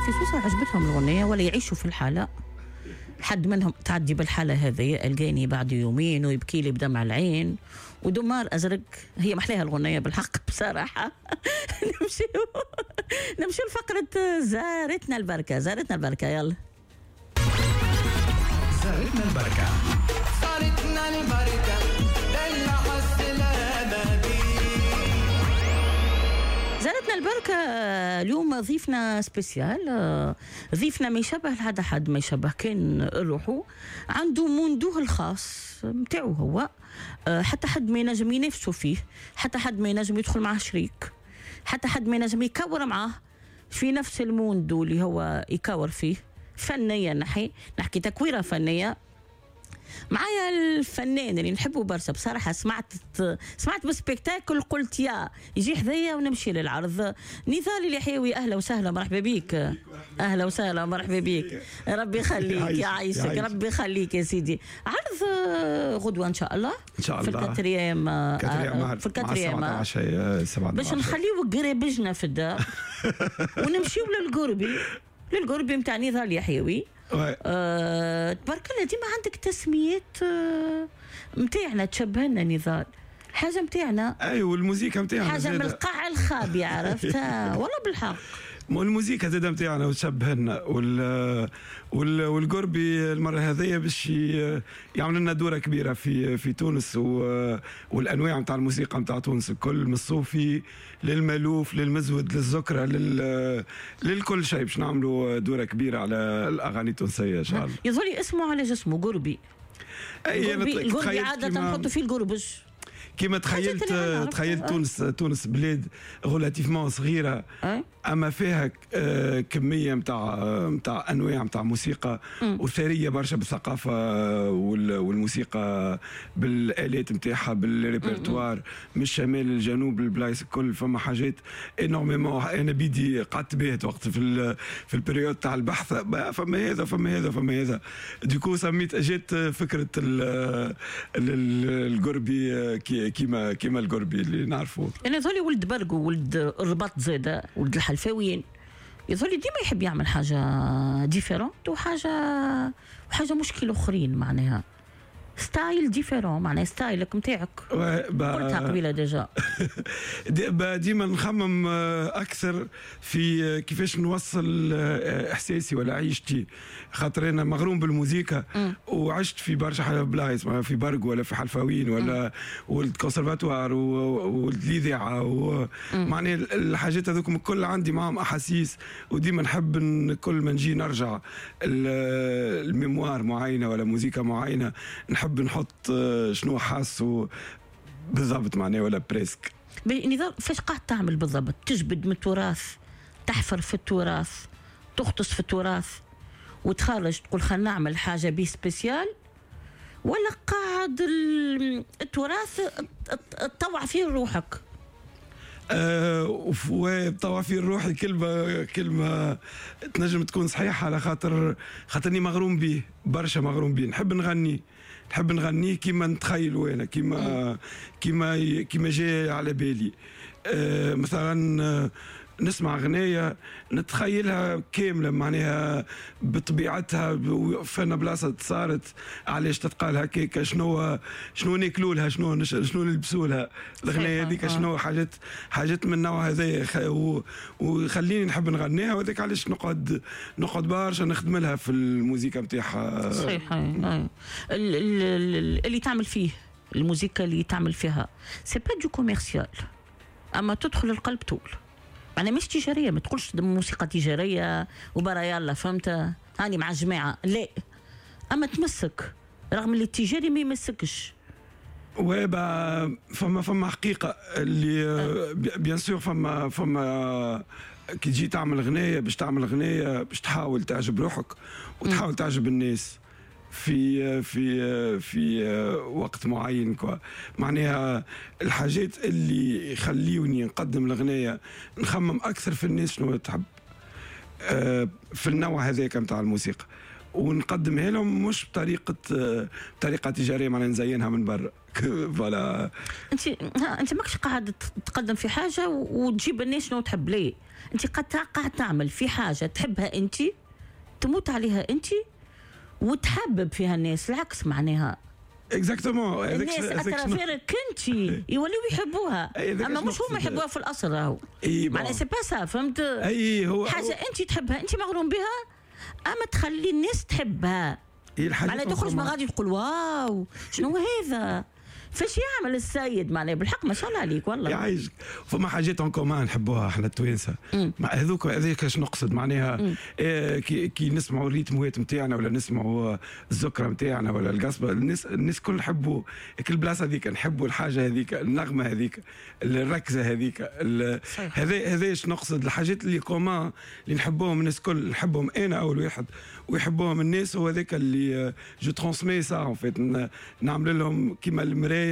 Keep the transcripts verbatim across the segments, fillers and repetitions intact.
في سوسة عجبتهم الأغنية ولا يعيشوا في الحالة. حد منهم تعدي بالحالة هذه ألقاني بعد يومين ويبكي لي بدمع العين ودمار أزرق. هي محلاها الغنية بالحق بصراحة. نمشي نمشي لفقرة زارتنا البركة. زارتنا البركة، يلا. زارتنا البركة، زارتنا البركة، دلع السلامة بي. زارتنا البركة اليوم ضيفنا spécial، ضيفنا ما يشبه لهذا حد، ما يشبه كان روحه، عنده monde و الخاص متاعو هو، حتى حد ما ينجم ينافسه فيه، حتى حد ما ينجم يدخل معاه شريك، حتى حد ما ينجم يكور معاه في نفس ال monde اللي هو يكور فيه فنيا. نحي نحكي تكويره فنية. معايا الفنان اللي نحبه برشا بصراحة، سمعت سمعت بال spectacle قلت يا يجي حذايا ونمشي للعرض. نضال اليحيوي، اهلا وسهلا، مرحبا بيك. اهلا وسهلا، مرحبا بيك. ربي يخليك، يعيشك، ربي يخليك يا سيدي. عرض غدوه ان شاء الله، ان شاء الله في ال quatrième، في ال quatrième باش نخليو قريبجنا في الدار ونمشيو للقربي، للقربي نتاع نضال اليحيوي. أه، تبارك الله ديما عندك تسميات نتاعنا تشبهنا نضال، حاجة نتاعنا. اي والموسيقى نتاعنا حاجة من القاع الخابي، عرفتها والله بالحق. والموسيقى زاده نتاعنا وتشبهنا، وال وال والقربي المرة هذيا باش يعمل لنا دوره كبيرة في في تونس، والانواع نتاع الموسيقى نتاع تونس الكل، من الصوفي للمالوف للمزود للزكره لل للكل شيء، باش نعملوا دوره كبيرة على الاغاني التونسية ان شاء الله. يظل اسمه على جسمه قربي. اي القربي عادة نحطوا فيه القربج. كيما تخيلت تخيلت تونس، تونس بلاد relativement صغيرة، اما فيها كمية نتاع نتاع انواع نتاع موسيقى، وثريه برشا بالثقافة والموسيقى بالالات نتاعها بالريبرتوار، من الشمال للجنوب البلايص الكل فما حاجات énormément. انا بيدي قعدت باهت وقت في في ال période تاع البحث، فما هذا فما هذا فما هذا، du coup سميت جات فكرة القربي كيما كيما القربي اللي نعرفوه. انا يظهر لي ولد برقو، ولد الرباط زاده، ولد الحلفاويين، يظهر لي ديما يحب يعمل حاجة différente وحاجه وحاجه مشكل اخرين، معناها style différent، معناها style ك نتاعك. قلتها قبيلة déjà. ديما نخمم اكثر في كيفاش نوصل احساسي ولا عيشتي، خاطر انا مغروم بالموسيقى وعشت في برشا بلايص، في برق ولا في حلفاوين ولا ولد كونسرفاتوار ولد الاذاعة، معناها الحاجات هذوك الكل عندي معاهم احاسيس، وديما نحب كل ما نجي نرجع ال mémoire معينة ولا موسيقى معينة نحب نحط شنو حاس بالضبط معناه ولا presque. نضال فاش قاعد تعمل بالضبط؟ تجبد من التراث، تحفر في التراث، تغطس في التراث وتخرج تقول خلينا نعمل حاجة بيه spéciale، ولا قاعد التراث تطوع فيه روحك؟ أه وطوع فيه روحي كلمة كلمة تنجم تكون صحيحه، على خاطر خاطرني مغروم به برشا، مغروم به، نحب نغني، نحب نغني كيما نتخيلوا انا، كيما كيما كيما جاي على بالي. أه مثلا نسمع غنايه نتخيلها كاملة معناها بطبيعتها، فانا بلاصة صارت علاش تتقال هكاك، شنو شنو ناكلوا لها، شنو شنو نلبسوا لها الغنايه هذيك، شنو حاجات حاجات من النوع هذايا، وخليني نحب نغنيها، وهذاك علاش نقعد نقعد برشا نخدم لها في الموسيقى نتاعها. صحيح. اللي تعمل فيه الموسيقى اللي تعمل فيها c'est pas du commercial، اما تدخل القلب طول، معناها مش تجارية، ما تقولش موسيقى تجارية وبرا يلا فهمت هاني مع الجماعة، لا، اما تمسك رغم اللي التجاري ما يمسكش. oui فما فما حقيقة اللي bien sûr فما فما كي تجي تعمل غنايه، باش تعمل غنايه باش تحاول تعجب روحك وتحاول تعجب الناس في في في وقت معين quoi. معناها الحاجات اللي يخليوني نقدم الغنايه نخمم اكثر في الناس شنو تحب في النوع هذاك نتاع الموسيقى، ونقدمها لهم مش بطريقة بطريقة تجارية، معناها نزينها من برا. voilà. انت انت ماكش قاعد تقدم في حاجة وتجيب الناس شنو تحب، ليه؟ انت قاعد قاعد تعمل في حاجة تحبها انت، تموت عليها انت، وتحبب فيها الناس، العكس معناها. exactement. الناس à travers ك انت يوليو يحبوها، اما مش هما يحبوها في الاصل راهو. معناها c'est pas ça، فهمت؟ اي هو حاجة انت تحبها، انت مغروم بها، اما تخلي الناس تحبها. معناها تخرج من غادي تقول واو شنو هذا؟ فاش يعمل السيد؟ معناها بالحق ما شاء الله عليك والله. يعيشك. فما حاجات en commun نحبوها احنا التوانسة، هذوك هذاك اش نقصد معناها. إيه كي, كي نسمعوا ال rythme وات نتاعنا ولا نسمعوا الزكره نتاعنا ولا القصبة، الناس الناس الكل نحبوا البلاصة هذيك، نحبوا الحاجة هذيك، النغمة هذيك، الركزه هذيك. هذا هذا اش نقصد، الحاجات اللي commun اللي نحبوهم الناس الكل، نحبهم انا اول واحد ويحبوهم الناس، هو هذاك اللي je transmets ça en fait، نعمل لهم كيما المراية.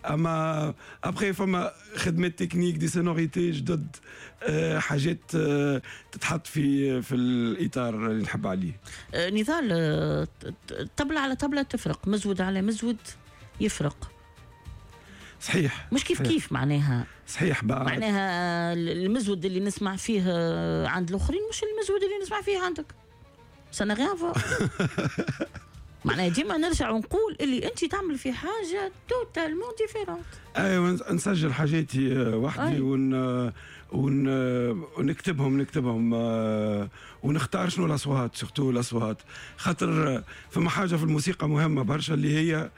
اما après فما خدمات techniques، des sonorités جدد، آه، حاجات آه، تتحط في في الاطار اللي نحب عليه. آه، نضال، طبلة على طبلة تفرق، مزود على مزود يفرق. صحيح. مش كيف صحيح. كيف معناها. صحيح بعد. معناها المزود اللي نسمع فيه عند الاخرين مش المزود اللي نسمع فيه عندك. ça n'a rien à voir. معناها ديما نرجع ونقول اللي انت تعمل في حاجة totalement différente. ايوه، نسجل حاجاتي وحدي ون ون ونكتبهم نكتبهم ونختار شنو الاصوات، surtout الاصوات، خاطر فما حاجة في الموسيقى مهمة برشا اللي هي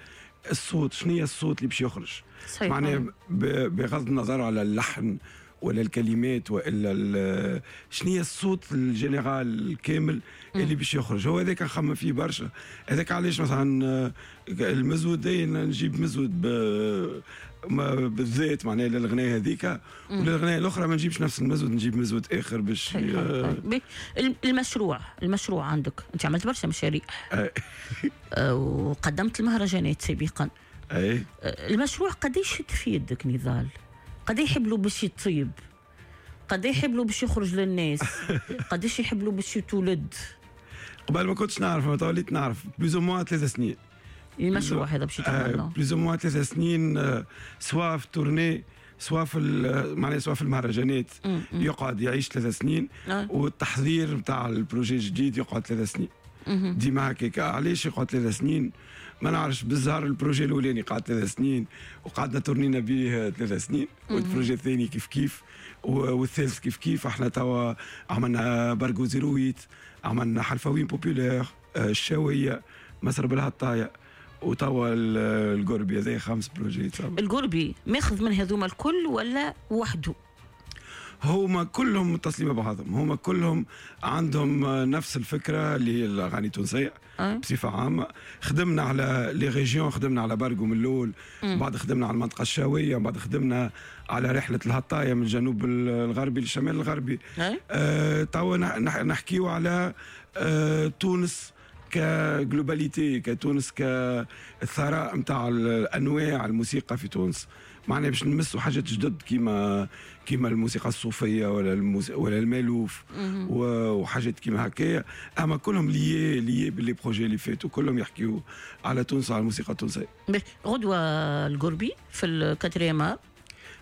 الصوت، شنو هي الصوت اللي باش يخرج. صحيح. معناها بغض النظر على اللحن ولا الكلمات والا شنو هي الصوت ال général الكامل اللي باش يخرج، هو هذاك نخمم فيه برشا. هذاك علاش مثلا المزود نجيب مزود بالذات معناها للغنايه هذيك، وللغنايه الاخرى ما نجيبش نفس المزود، نجيب مزود اخر باش. المشروع المشروع عندك انت عملت برشا مشاريع وقدمت المهرجانات سابقا. اي المشروع قداش في يدك نضال؟ قد يحب له باش يطيب، قد يحب له باش يخرج للناس، قداش يحب له باش يتولد؟ قبل ما كنتش نعرف، ما توليت نعرف plus ou moins ثلاث سنين المشروع هذا باش يتعمل. plus ou moins ثلاث سنين، سواء في tournée، سواء في معناها سواء في المهرجانات يقعد يعيش ثلاث سنين، والتحضير نتاع ال projet الجديد يقعد ثلاث سنين. ديما هكاك. علاش يقعد ثلاث سنين؟ ما نعرفش. بالزهر ال projet الاولاني قعد ثلاث سنين وقعدنا tourn ينا به ثلاث سنين، وال projet الثاني كيف كيف، والثالث كيف كيف. احنا توا عملنا برقو zéro huit، عملنا حلفاوين populaire، الشاويه، مسرب الهطايه، وتوا القربي. هذا خمس projets. القربي ماخذ من هذوما الكل ولا وحده؟ هما كلهم متصلين ببعضهم، هما كلهم عندهم نفس الفكرة اللي هي الاغاني التونسية أه؟ بصفة عامة. خدمنا على les régions، خدمنا على برقو من الاول، بعد خدمنا على المنطقة الشاويه، بعد خدمنا على رحله الهطايه من الجنوب الغربي للشمال الغربي. أه؟ أه توا نحكيو على أه تونس ك globalité، كتونس كالثراء نتاع الانواع الموسيقى في تونس. معناها باش نمسوا حاجات جدد كيما كيما الموسيقى الصوفية ولا الموس... ولا المالوف وحاجات كيما هكايا، اما كلهم liés liés ب les projets اللي فاتوا، كلهم يحكيوا على تونس، على الموسيقى التونسية. غدوه القربي في ال quatrième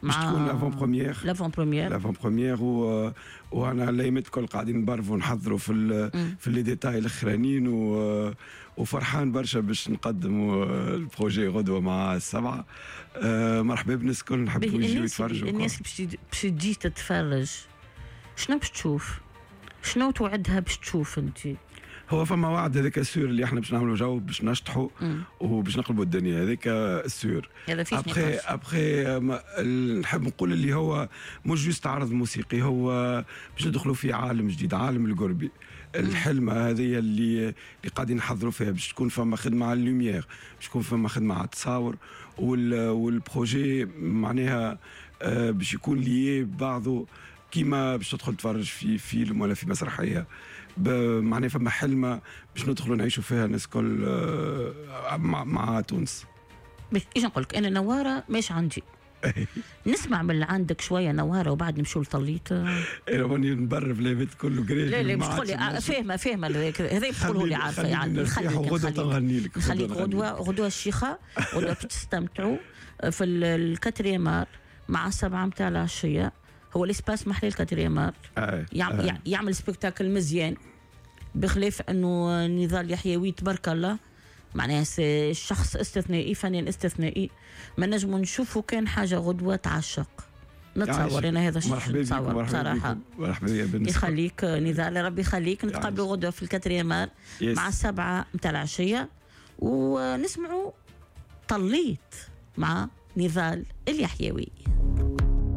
باش تكون l'avant-première. l'avant-première. l'avant-première و... وانا الايامات الكل قاعدين نبرفوا نحضروا في ال... في les détails الاخرانيين و... وفرحان برشا باش نقدموا ال projet غدوه مع السبعة. أه مرحبا بالناس الكل، نحبوا يجيو يتفرجوا. الناس باش تجي تتفرج شنو باش تشوف؟ شنو توعدها باش تشوف انت؟ هو فما وعد هذاك sûr اللي احنا باش نعملوا جو، باش نشطحوا وباش نقلبوا الدنيا، هذاك sûr. هذا فيه après après نحب نقول اللي هو مش juste عرض موسيقي، هو باش ندخلوا في عالم جديد، عالم القربي. الحلمة هذه اللي اللي قاعدين نحضروا فيها باش تكون فما خدمة على ال lumière، باش تكون فما خدمة على التصاور، وال projet معناها باش يكون lié ببعضه، كيما باش تدخل تفرج في فيلم ولا في مسرحية. معناها فما حلمه باش ندخلوا نعيشوا فيها الناس الكل مع, مع تونس. ايش نقول لك، انا نواره ماش عندي. نسمع من عندك شوية نواره وبعد نمشوا لطليت. انا ماني نبرر في البيت كله قريب. لا لا مش تقول لي فاهمه فاهمه، هذا تقوله لي عارفه يعني. نخليك غدوه تغني لك، نخليك غدوه، غدوه الشيخه غدوه تستمتعوا في ال quatrième art مع السبعة نتاع العشية. هو l'espace محلي ال quatrième art يعمل, يعمل spectacle مزيان، بخلاف انه نضال يحيوي تبارك الله معناها شخص استثنائي، فنان استثنائي، ما نجموا نشوفوا كان حاجة غدوه تعشق. نتصور انا هذا الشيء، نتصور بصراحة. مرحبا بك، يخليك نضال، ربي يخليك. نتقابلوا غدوه في ال quatrième art مع السبعة نتاع العشية ونسمعوا طليت مع نضال اليحيوي.